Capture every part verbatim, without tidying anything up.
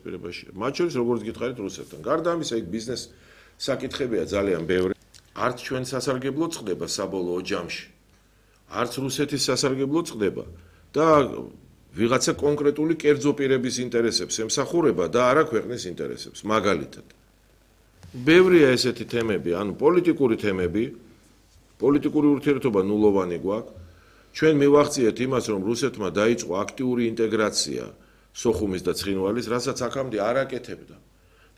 დაპირისპირებაში. მათ შორის როგორც გითხარით რუსეთთან. გარდა ამისა, იქ ბიზნეს საკითხებია ძალიან ბევრი. არც ჩვენ სასარგებლო წყდება საბოლოო ჯამში. არც რუსეთის სასარგებლო წყდება და ვიღაცა კონკრეტული კერძო პირების ინტერესებს ემსახურება და არა ქვეყნის ინტერესებს, მაგალითად. ბევრია ესეთი თემები, ანუ პოლიტიკური თემები, პოლიტიკური ურთიერთობა ნულოვანი გვაქვს. ჩვენ მივახციეთ იმას, რომ რუსეთმა დაიწყო აქტიური ინტეგრაცია სოხუმის და ცხინვალის, რასაც აქამდე არ აკეთებდა.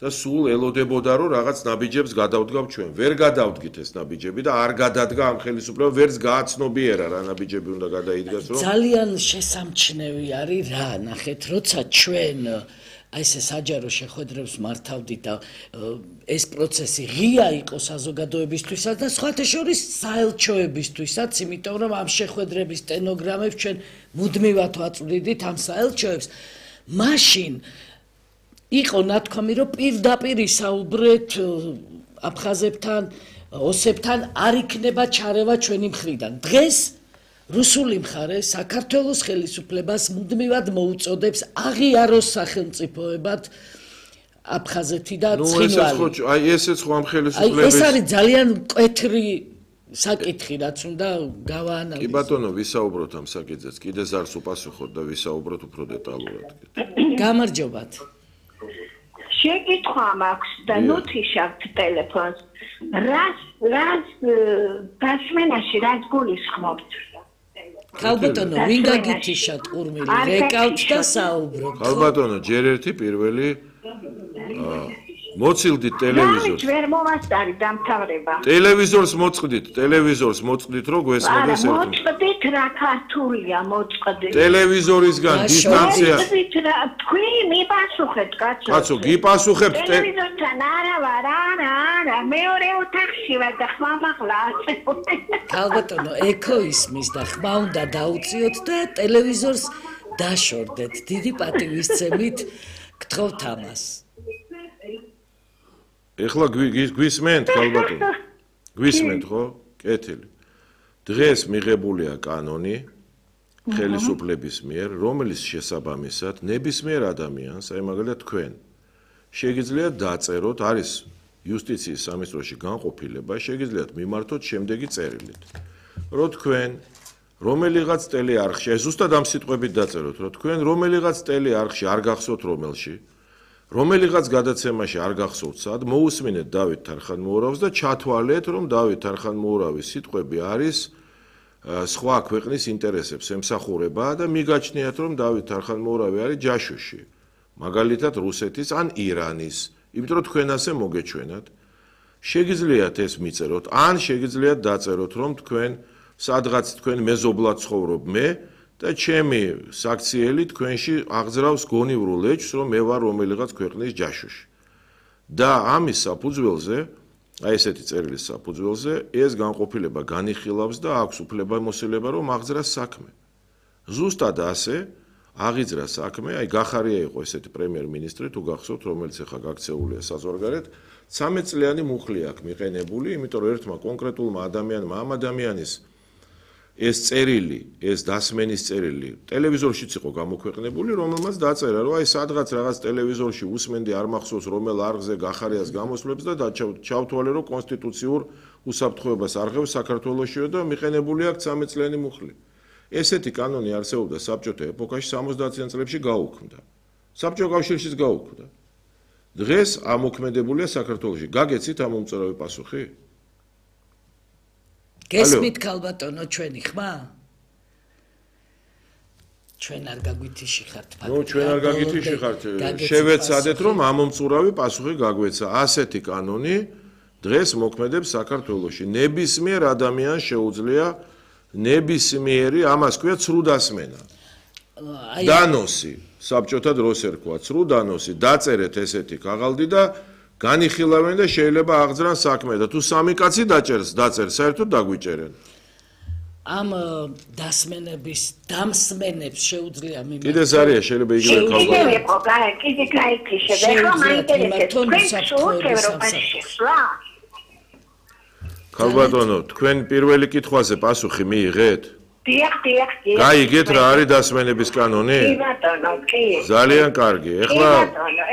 და სულ ელოდებოდა, რომ რაღაც ნაბიჯებს გადავდგავ ჩვენ. ვერ გადავდგით ეს ნაბიჯები და არ გადადგა ამ ხელისუფლება, ვერც გააცნობიერა რა ნაბიჯები უნდა გადაიდგას, რომ ძალიან შესამჩნევი არის რა, ნახეთ, როცა ჩვენ აი ესე საჯარო შეხვედრებს მართავდით და ეს პროცესი ღია იყო საზოგადოებისთვისაც და სხვათა შორის საელჩოებისთვისაც, იმიტომ რომ ამ შეხვედრების სტენოგრამებს ჩვენ მუდმივად ვაწვდიდით ამ საელჩოებს. მაშინ იყო ნათქვამი, რომ პირდაპირ ისაუბრეთ აფხაზებთან, ოსებთან არ იქნება ჩარევა ჩვენი მხრიდან. დღეს რუსული მხარე საქართველოს ხელისუფლებას მუდმივად მოუწოდებს აღიაროს სახელმწიფოებად აფხაზეთი და ცხინვალი. აი ესეც ხო ამ ხელისუფლების ეს არის ძალიან მკვეთრი საკითხი, რაც უნდა გავაანალიზოთ. კი ბატონო, ვისაუბროთ ამ საკითხზეც. კიდე ზარს უპასუხოთ და ვისაუბროთ უფრო დეტალურად. გამარჯობათ. შეკითხვა მაქვს და ნუთიშავთ ტელეფონს. რას რას დასმენაში რას გულისხმობთ? ხალბატონო, ვინ გაგითიშათ ყურმილი, რეკავთ და საუბრობთ. ხალბატონო, ჯერ ერთი პირველი მოცილდით ტელევიზორს. ვერ მომასწარი დამთავრება. ტელევიზორს მოწყდით, ტელევიზორს მოწყდით, რომ გვესმოდეს ერთი. მოწყდით რა ქართულია მოწყდით. ტელევიზორისგან დისტანცია. მოწყდით რა, თქვი მიპასუხეთ კაცო. კაცო, გიპასუხებთ ტელევიზორთან არა ვარ, არა, არა, მეორე ოთახში ვარ და ხმა მაღლა აწევდი. ხალბატონო, ექო ისმის და ხმა უნდა დაუწიოთ და ტელევიზორს დაშორდეთ. დიდი პატივისცემით გთხოვთ ამას. ეხლა გვისმენთ, ხალბატონო? გვისმენთ, ხო? კეთილი. დღეს მიღებულია კანონი ხელისუფლების მიერ, რომელიც შესაბამისად ნებისმიერ ადამიანს, აი მაგალითად თქვენ, შეგიძლიათ დაწეროთ, არის იუსტიციის სამინისტროში განყოფილება, შეგიძლიათ მიმართოთ შემდეგი წერილით. რომ თქვენ რომელიღაც ტელეარხში, აი ზუსტად ამ სიტყვებით დაწეროთ, რომ თქვენ რომელიღაც ტელეარხში არ გახსოვთ რომელში რომელიღაც გადაცემაში არ გახსოვთ სად, მოусმინეთ დავით თარხანმოურავს და ჩათვალეთ, რომ დავით თარხანმოურავის სიტყვები არის სხვა ქვეყნის ინტერესებს ემსახურება და მიგაჩნიათ, რომ დავით თარხანმოურავი არის ჯაშუში, მაგალითად რუსეთის ან ირანის, იმიტომ რომ თქვენ ასე მოგეჩვენათ. შეგიძლიათ ეს მიწეროთ, ან შეგიძლიათ დაწეროთ, რომ თქვენ სადღაც თქვენ მეზობლად ცხოვრობ მე და ჩემი საქციელი თქვენში აღძრავს გონივრულ ეჭვს, რომ მე ვარ რომელიღაც ქვეყნის ჯაშუში. და ამის საფუძველზე, აი ესეთი წერილის საფუძველზე, ეს განყოფილება განიხილავს და აქვს უფლებამოსილება, რომ აღძრას საქმე. ზუსტად ასე აღიძრა საქმე, აი გახარია იყო ესეთი პრემიერ-მინისტრი, თუ გახსოვთ, რომელიც ახლა გაქცეულია საზღვარგარეთ, ცამეტ წლიანი მუხლი აქვს მიყენებული, იმიტომ რომ ერთმა კონკრეტულმა ადამიანმა ამ ადამიანის ეს წერილი, ეს დასმენის წერილი ტელევიზორშიც იყო გამოქვეყნებული, რომელმაც დაწერა, რომ აი სადღაც რაღაც ტელევიზორში უსმენდი არ მახსოვს რომელ არხზე გახარიას გამოსვლებს და ჩავთვალე, რომ კონსტიტუციურ უსაფრთხოებას არღევს საქართველოსშიო და მიყენებული აქვს ცამეტ წლიანი მუხლი. ესეთი კანონი არსებობდა საბჭოთა ეპოქაში სამოცდაათიან წლებში გაუქმდა. საბჭოთა კავშირშიც გაუქმდა. დღეს ამოქმედებულია საქართველოში. გაგეცით ამ უმწურავი პასუხი? გესმით ხალბატონო ჩვენი ხმა? ჩვენ არ გაგვითიში ხართ ფაქტი. ნუ ჩვენ არ გაგვითიში ხართ. შევეცადეთ რომ ამომწურავი პასუხი გაგვეცა. ასეთი კანონი დღეს მოქმედებს საქართველოში. ნებისმიერ ადამიანს შეუძლია ნებისმიერი, ამას ქვია ცრუ დასმენა. დანოსი, საბჭოთა დროს ერქვა ცრუ დანოსი, დაწერეთ ესეთი ქაღალდი და განიხილავენ და შეიძლება აღძრან საქმე და თუ სამი კაცი დაჭერს, დაწერს, საერთოდ დაგვიჭერენ. ამ დასმენების დამსმენებს შეუძლია მიმართოს. კიდე ზარია შეიძლება იგივე ქალბატონო. კიდე იყო, კიდე გაიქიშე, ეხლა მაინტერესებს. ქალბატონო, თქვენ პირველი კითხვაზე პასუხი მიიღეთ? დიახ, დიახ, დიახ. გაიგეთ რა არის დასმენების კანონი? კი ბატონო, კი. ძალიან კარგი. ეხლა